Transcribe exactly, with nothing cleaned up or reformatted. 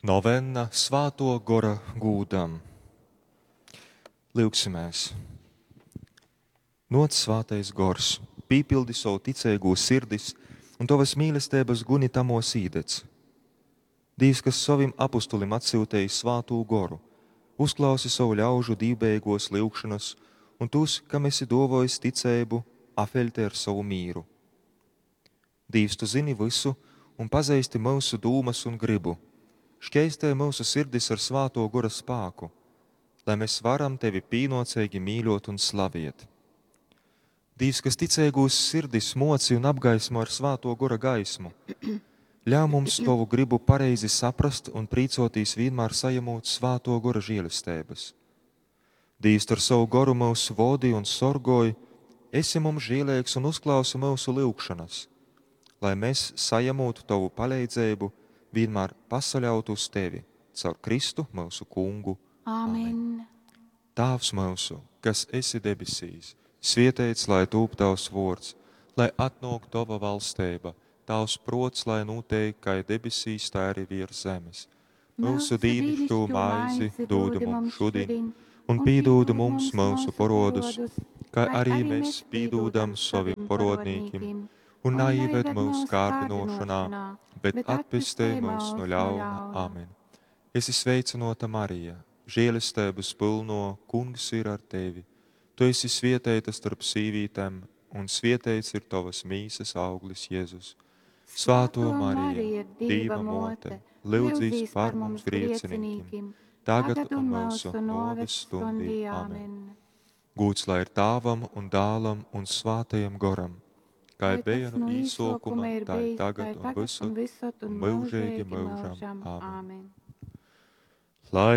Novenna Svātuo Gora gūdam. Lyugsimēs! Nuoc, Svātais Gors, pīpildi sovu ticeigū sirdis un tovas mīlesteibas guni tamos īdedz. Dīvs, kas sovim apustulim atsyuteji Svātū Goru, uzklausi sovu ļaužu dīvbejeigōs lyugšonas un tūs, kam esi dōvōjis ticeibu, afeļtej ar sovu mīru. Dīvs, tu zyni vysu un pazeisti myusu dūmas un grybu. Škeistej myusu sirdis ar Svātō Gora spāku, lai mes varam tevi pīnōceigi mīļōt un slaviet. Dīvs, kas ticeigūs sirdis moci un apgaismo ar Svātō Gora gaismu, ļauj mums tovu grybu pareizi saprast un prīcōtīs vīnmār sajemūt Svātō Gora žēlesteibas. Dīvs, tu ar sovu goru myus vodi un sorgoj, esi mums žēleigs un uzklausi myusu lyugšonas, lai mēs, sajemūt tovu paleidzeibu, vienmēr pasaļautu uz tevi, caur Kristu myusu Kungu. Amen. Tāvs myusu, kas esi debesīs, svieteits lai tūp tavs vuords, lai atnuok tova valsteiba, tavs pruots lai nūteik kai debesīs, tai arī viers zemes. Myusu dīnišķū maizi dūdu mums šodien, un pīdūdu mums myusu porodus, kai arī mēs pīdūdam sovim porodnīkim, un naīved mūsu kārdinošanā, bet atpestej mūs no ļauna. Amen. Esi sveicināta, Marija, žēlestības pilno, Kungs ir ar tevi. Tu esi svietēta starp sīvītēm, un svietēts ir tavas mīsas auglis Jēzus. Svāto Marija, Dieva mote, lūdzīs par mums grēciniekiem, tagad un mūsu nāves stundī. Amen. Gūds lai ir Tāvam un Dālam un Svātajam Goram, kā bija no īsokuma, tā ir tagad un visur, un mūžīgi mūžam. Amen. Lai